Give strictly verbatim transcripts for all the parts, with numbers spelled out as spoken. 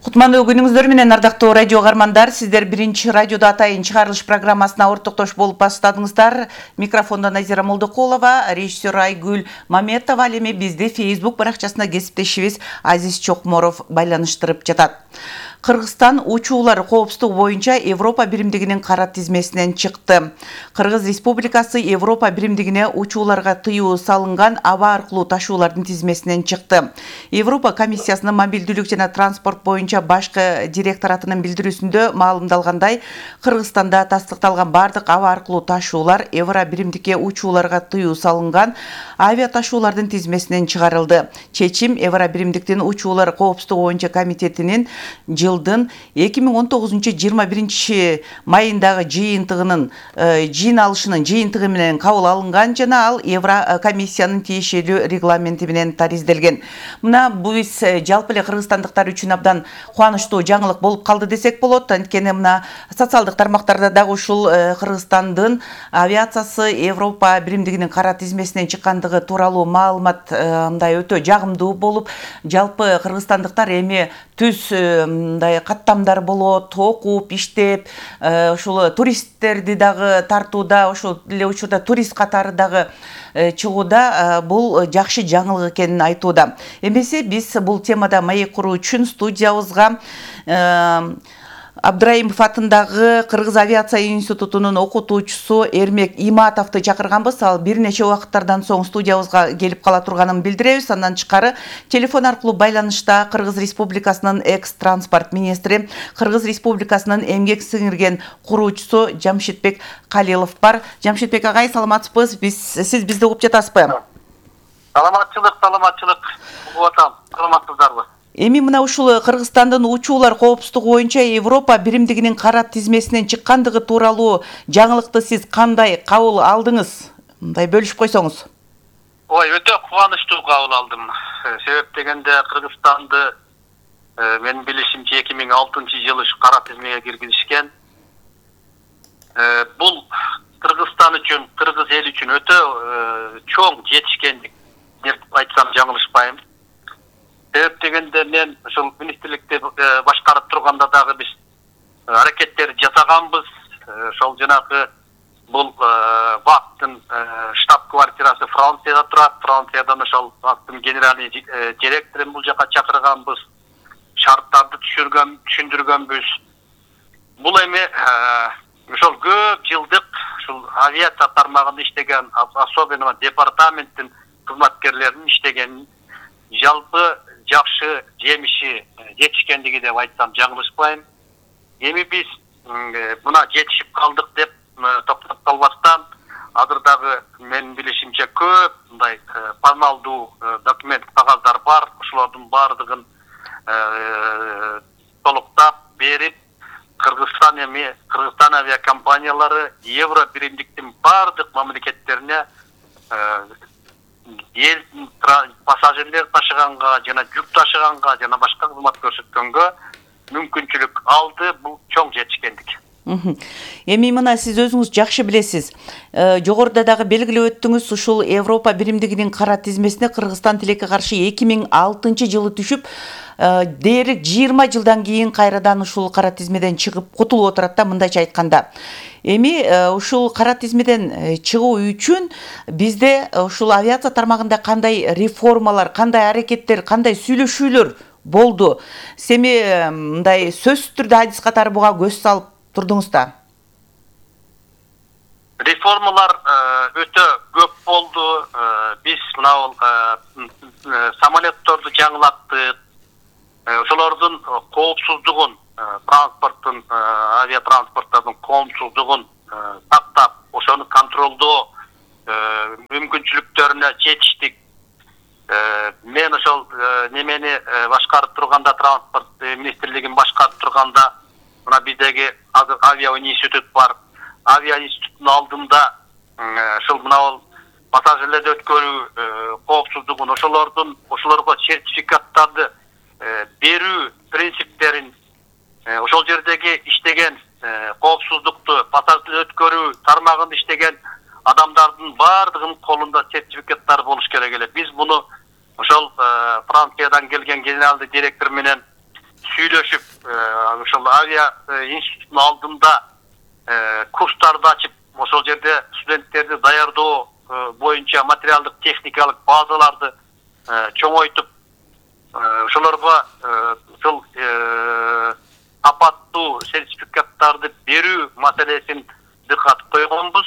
Кутмандуу күнүңүздөр менен ардактуу радио каармандар, сиздер биринчи радиодо атайын чыгарылыш программасына ортоктош болуп баштадыңыздар. Микрофондо Назира Молдокулова, режиссер Айгүл Маметова, ал эми бизди Facebook баракчасында кесиптешибиз Азиз Чокморов байланыштырып жатат. Кыргызстан учуулар коопсуздугу боюнча Европа биримдигинин кара тизмесинен чыкты. Кыргыз Республикасы Европа биримдигине учууларга тыюу салынган аба аркылуу ташуулардын тизмесинен чыкты. Европа комиссиясынын мобилдүүлүк жана транспорт боюнча башкы директоратынын билдирүүсүндө маалымдалгандай, Кыргызстанда тастыкталган бардык аба аркылуу ташуулар Евро биримдикке учууларга тыюу салынган авиа ташуулардын тизмесинен чыгарылды. Чечим Евро биримдиктин учуулар коопсуздугу боюнча комитетинин жылдын эки миң он тогузунчу жыйырма биринчи майындагы жыйынтыгынын жыйын алышынын жыйынтыгы менен кабыл алынган жана ал Евро комиссиянын тиешелүү регламенти менен таризделген. Мына биз жалпы эле кыргызстандыктар үчүн абдан кубанычтуу жаңылык болуп калды десек болот. Анткени мына социалдык тармактарда дагы ушул Кыргызстандын авиациясы Европа биримдигинин кара тизмесинен чыккандыгы тууралуу маалымат мындай өтө жагымдуу болуп, жалпы кыргызстандыктар эми түз мындай каттамдар болот, окуп, иштеп, ушул туристтерди дагы тартууда, ошол эле учурда турист катары дагы чыгууда бул жакшы жаңылык экенин айтууда. Эмесе биз бул темада маек куруу үчүн студиябызга Абдраимов атындагы Кыргыз авиация институтунун окутуучусу Эрмек Иматовду чакырганбыз. Ал бир нече убакыттардан соң студиябызга келип кала турганын билдиребиз. Андан тышкары телефон аркылуу байланышта Кыргыз Республикасынын экс-транспорт министри, Кыргыз Республикасынын эмгек сиңирген куруучусу Жамшитбек Калилов бар. Жамшитбек агай, саламатсызбы? Биз сиз бизди угуп жатасызбы? Саламатчылык, саламатчылык. Угуп атам. Саламатсыздарбы? Эми мына ушул Кыргызстандын учуулар коопсуздугу боюнча Европа биримдигинин кара тизмесинен чыккандыгы тууралуу жаңылыкты сиз кандай кабыл алдыңыз? Мындай бөлүшүп койсоңуз. Ой, өтө кубанычтуу кабыл алдым. Себеп дегенде Кыргызстанды менин билишимче эки миң алтынчы жылы кара тизмеге киргизишкен. Бул Кыргызстан үчүн, кыргыз эл үчүн өтө чоң жетишкендик деп айтсам жаңылышпайм. Себеп дегенде мен ушул министрликте башкарып турганда дагы биз аракеттер жасаганбыз. Ошол жанагы бул вактын штаб-квартирасы Францияда турат. Франциядан ошол вактын генеральный директорун бул жака чакырганбыз. Шарттарды түшүргөн, түшүндүргөнбүз. Бул эми ошол көп жылдык ушул авиация тармагында иштеген, особенно департаменттин кызматкерлеринин иштегенин жалпы жакшы жемиши жетишкендиги деп айтсам жаңылышпайм. Эми биз мына жетишип калдык деп токтоп калбастан, азыр дагы менин билишимче көп мындай паналдуу документ, кагаздар бар. Ошолордун баардыгын толуктап берип, Кыргызстан эми Кыргызстан авиакомпаниялары Евро биримдиктин баардык мамлекеттерине эл пассажирлер ташыганга жана жүк ташыганга жана башка кызмат көрсөткөнгө мүмкүнчүлүк алды. Бул чоң жетишкендик. Эми мына сиз өзүңүз жакшы билесиз. Жогоруда дагы белгилеп өттүңүз, ушул Европа биримдигинин кара тизмесине Кыргызстан тилекке каршы эки миң алтынчы жылы түшүп, дээрлик жыйырма жылдан кийин кайрадан ушул кара тизмеден чыгып кутулуп отурат да, мындайча айтканда. Эми ушул кара тизмеден чыгуу үчүн бизде ушул авиация тармагында кандай реформалар, кандай аракеттер, кандай сүйлөшүүлөр болду? Семи мындай сөзсүз түрдө адис катары буга көз салып турдуңуз да? Реформалар өтө көп болду. Биз мына самолетторду жаңылаттык. Ошолордун коопсуздугун, транспорттун, авиатранспорттардын коопсуздугун сактап, ошону контролдоо мүмкүнчүлүктөрүнө жетиштик. Мен ошол немени башкарып турганда, транспорт министрлигин башкарып турганда, мына биздеги авиа институт бар. Авиа институттун алдында ошол мына пассажирлерди өткөрүү коопсуздугун, ошолордун ошолорго сертификаттарды берүү принциптерин, ошол жердеги иштеген коопсуздукту, пассажирлер өткөрүү тармагында иштеген адамдардын баардыгынын колунда сертификаттар болуш керек эле. Биз муну ошол Франциядан келген генералдык директор менен сүйлөшүп, ошол авиа институтунун алдында курстарды ачып, ошол жерде студенттерди даярдоо боюнча материалдык техникалык базаларды чоңойтуп, ошолорго ушул апаттуу сертификаттарды берүү маселесин дыкат койгонбуз.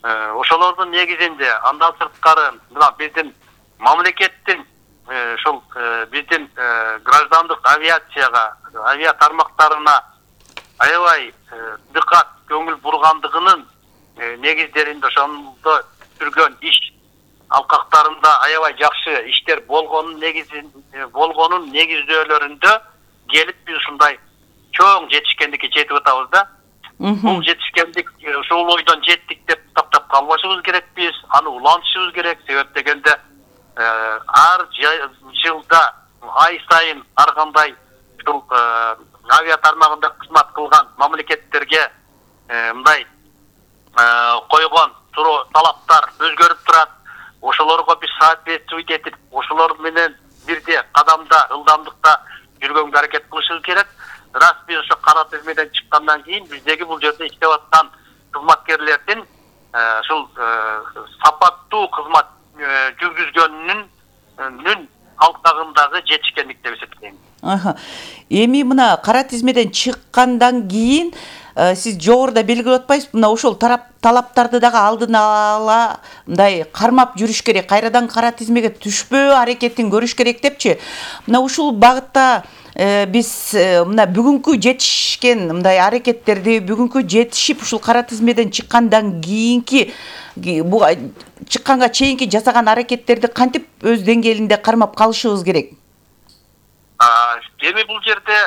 Ошолордун негизинде андан сырткары мына биздин мамлекеттин ошол биздин граждандык авиацияга, авиа тармактарына аябай дыкат көңүл бургандыгынын негиздеринде ошондо жүргөн иш алкактарында аябай жакшы иштер болгонун негизин болгонун негиздөөлөрүндө келип биз ушундай чоң жетишкендикке жетип атабыз да. Бул жетишкендик ушул ойдон жеттик деп токтоп калбашыбыз керекпиз, аны улантышыбыз керек. Себеп дегенде ар жылда ай сайын ар кандай ушул авиа тармагында кызмат кылган мамлекеттерге мындай койгон талаптар өзгөрүп турат. Ошолорго биз соответствовать этип, ошолор менен бирде кадамда, ылдамдыкта жүргөнгө аракет кылышыбыз керек. Раз биз ошо кара тизмеден чыккандан кийин биздеги бул жерде иштеп аткан кызматкерлердин ушул сапаттуу кызмат жүргүзгөнүнүн алкагындагы жетишкендик деп эсептейм. Эми мына кара тизмеден чыккандан кийин сиз жогоруда белгилеп атпайсызбы, мына ошол талаптарды дагы алдын ала мындай кармап жүрүш керек, кайрадан кара тизмеге түшпөө аракетин көрүш керек депчи. Мына ушул багытта биз мына бүгүнкү жетишкен мындай аракеттерди, бүгүнкү жетишип ушул кара тизмеден чыккандан кийинки бу чыкканга чейинки жасаган аракеттерди кантип өз деңгээлинде кармап калышыбыз керек? Эми бул жерде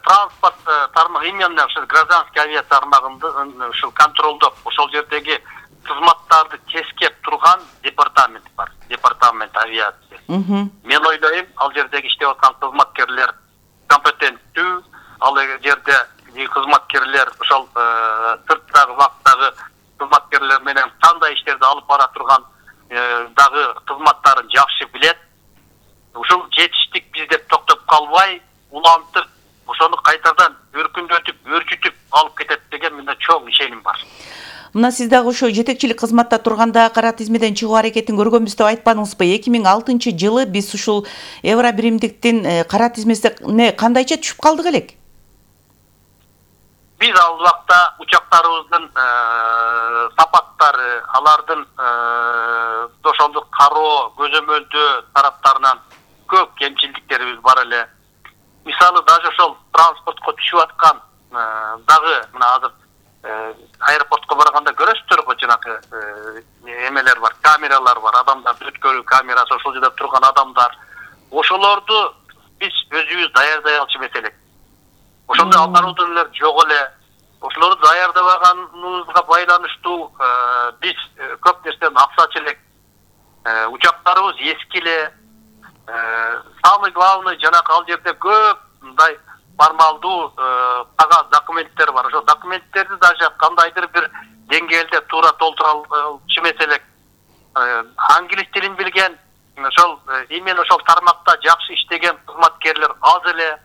транспорт тармагы, именно ушул гражданский авиа тармагында ушул контролдоп, ошол жердеги кызматтарды тескеп турган департамент бар. Департамент авиация. Мен ойлойм, ал жердеги иштеп аткан кызматкерлер компетенттүү, ал жерде кызматкерлер ошол сырттагы вакыттагы кызматкерлер менен кандай иштерди алып бара турган дагы кызматтарын жакшы билет. Ушул жетиштик биз деп токтоп калбай, улантып, ошону кайтадан өркүндөтүп, өрчүтүп алып кетет деген менде чоң ишеним бар. Мына сиз дагы ошо жетекчилик кызматта турганда кара тизмеден чыгуу аракетин көргөнбүз деп айтпадыңызбы? эки миң алтынчы жылы биз ушул Евро биримдиктин кара тизмесине кандайча түшүп калдык элек? Биз ал убакта учактарыбыздын сапаттары, алардын ошондук кароо, көзөмөлдөө тараптарынан көп кемчилдиктерибиз бар эле. Мисалы, даже ошол транспортко түшүп аткан дагы мына азыр аэропортко барганда көрөсүздөр го, жанагы эмелер бар, камералар бар, адамдарды өткөрүү камерасы, ошол жерде турган адамдар. Ошолорду биз өзүбүз даярдай алчу эмес элек. Ошондой оборудованиелер жок эле. Ошолорду даярдабаганыбызга байланыштуу биз көп нерседен аксачу элек. Учактарыбыз эски эле. Самый главный жанагы ал жерде көп мындай формалдуу кагаз документтер бар. Ошол документтерди даже кандайдыр бир деңгээлде туура толтура алчу эмес элек. Англис тилин билген, ошол именно ошол тармакта жакшы иштеген кызматкерлер аз эле.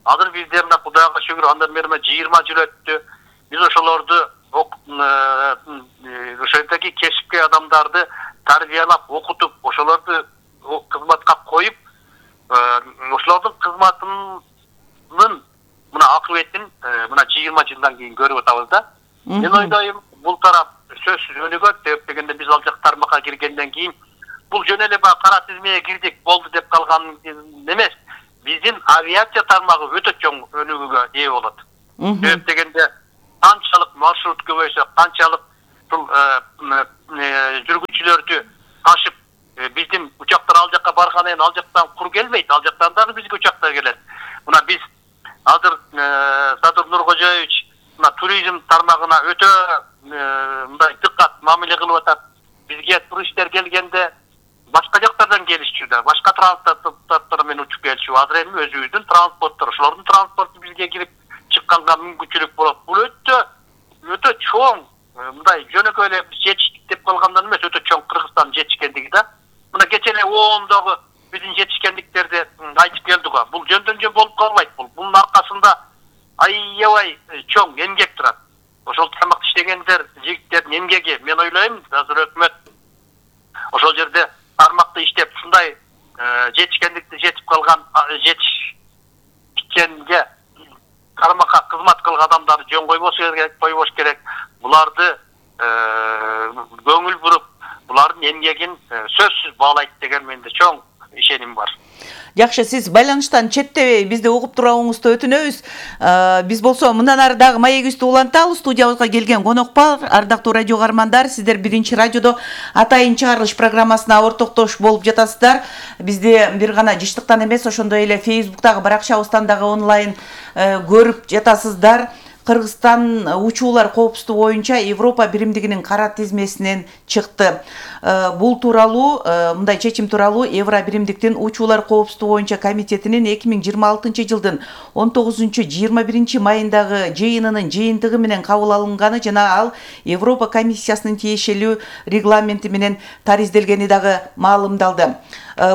Азыр бизде мына Кудайга шүгүр, андан бери жыйырма жыл өттү. Биз ошолорду ошолдоки кесипкөй адамдарды тарбиялап, окутуп, ошолорду кызматка коюп, ошолордун кызматынын мына акыбетин мына жыйырма жылдан кийин көрүп атабыз да. Мен ойлойм, бул тарап сөзсүз өнүгөт. Деп дегенде биз ал жак тармакка киргенден кийин бул жөн эле баягы кара тизмеге кирдик, болду деп калган эмес. Биздин авиация тармагы өтө чоң өнүгүүгө ээ болот. Себеп дегенде канчалык маршрут көбөйсө, канчалык бул жүргүнчүлөрдү ташып, биздин учактар ал жакка баргандан ал жактан кур келбейт, ал жактан дагы бизге учактар келет. Мына биз азыр Садыр Нуркожоевич мына туризм тармагына өтө мындай дыкат мамиле кылып атат. Бизге туристтер келгенде башка жактардан келишчү да, башка транспорттор менен учуп келчү. Азыр эми өзүбүздүн транспорттор, ошолордун транспорту бизге кирип чыкканга мүмкүнчүлүк болот. Бул өтө өтө чоң мындай жөнөкөй эле жетиштик деп калгандан эмес, өтө чоң Кыргызстан жетишкендиги да. Мына кече эле оомдогу биздин жетишкендиктерди айтып келдик го. ооба, бул жөндөн жөн болуп калбайт. Бул бунун аркасында аябай чоң эмгек турат. Ошол тармакта иштегендер, жигиттердин эмгеги, мен ойлойм, азыр өкмөт ошол жерде тармакта иштеп ушундай жетишкендикти жетип калган, жетишкенге тармакка кызмат кылган адамдарды жөн койбош керек, койбош керек. Буларды көңүл буруп, булардын эмгегин сөзсүз баалайт деген менде чоң ишеним бар. Жакшы, сиз байланыштан четтебей бизди угуп турууңузду өтүнөбүз. Биз болсо мындан ары дагы маегибизди улантабыз. Студиябызга келген конок бар. Ардактуу радио каармандар, сиздер биринчи радиодо атайын чыгарылыш программасына ортоктош болуп жатасыздар. Бизди бир гана жыштыктан эмес, ошондой эле Facebook'тагы баракчабыздан дагы онлайн көрүп жатасыздар. Кыргызстан учуулар коопсуздугу боюнча Европа биримдигинин кара тизмесинен чыкты. Бул тууралуу, мындай чечим тууралуу Евро биримдиктин учуулар коопсуздугу боюнча комитетинин эки миң жыйырма алтынчы жылдын он тогузунчу жыйырма биринчи майындагы жыйынынын жыйынтыгы менен кабыл алынганы жана ал Европа комиссиясынын тиешелүү регламенти менен таризделгени дагы маалымдалды.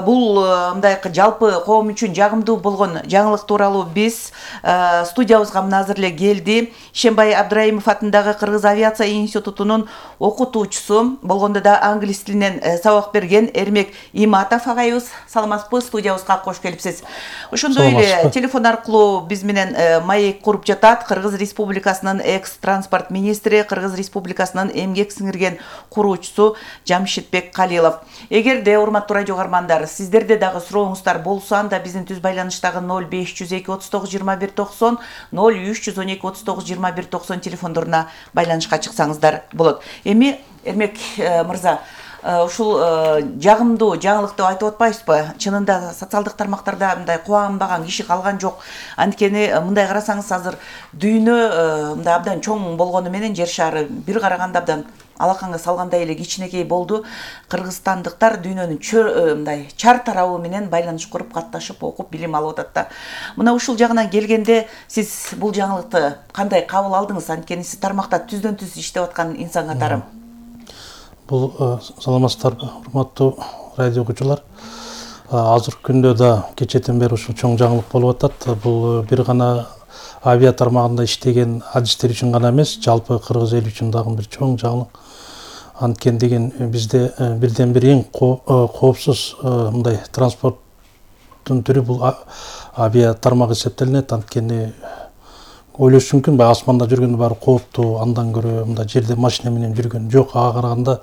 Бул мындай жалпы коом үчүн жагымдуу болгон жаңылык тууралуу биз студиябызга мына азыр эле келди. Ишенбай Абдраимов атындагы Кыргыз авиация институтунун окутуучусу, болгондо да англис тилинен сабак берген Эрмек Иматов агайыбыз. Саламатсызбы, студиябызга кош келипсиз. Ошондой эле телефон аркылуу биз менен маек куруп жатат Кыргыз Республикасынын экс-транспорт министри, Кыргыз Республикасынын эмгек сиңирген куруучусу Жамшитбек Калилов. Эгерде урматтуу радио каармандар, сиздерде дагы сурооңуздар болсо, анда биздин түз байланыштагы ноль беш жүз эки отуз тогуз жыйырма бир токсон, ноль үч жүз он эки отуз тогуз жыйырма бир токсон телефондоруна байланышка чыксаңыздар болот. Эми Эрмек мырза, ушул жагымдуу жаңылык деп айтып атпайсызбы? Чынында социалдык тармактарда мындай кубанбаган киши калган жок. Анткени мындай карасаңыз, азыр дүйнө мындай абдан чоң болгону менен жер шары бир караганда абдан алаканга салгандай эле кичинекей болду. Кыргызстандыктар дүйнөнүн мындай чар тарабы менен байланыш куруп, катташып, окуп, билим алып атат да. Мына ушул жагынан келгенде сиз бул жаңылыкты кандай кабыл алдыңыз? Анткени сиз тармакта түздөн түз иштеп аткан инсан катары. Бул саламатсыздарбы, урматтуу радио окуучулар. Азыркы күндө да кечэтен бери ушул чоң жаңылык болуп атат. Бул бир гана авиа тармагында иштеген адистер үчүн гана эмес, жалпы кыргыз эли үчүн дагы бир чоң жаңылык. Анткени деген бизде бирден бир эң коопсуз мындай транспорттун түрү бул авиа тармак эсептелинет. Анткени ойлош мүмкүн, бай асманда жүргөндө баары кооптуу, андан көрө мындай жерде машина менен жүргөн жок. Ага караганда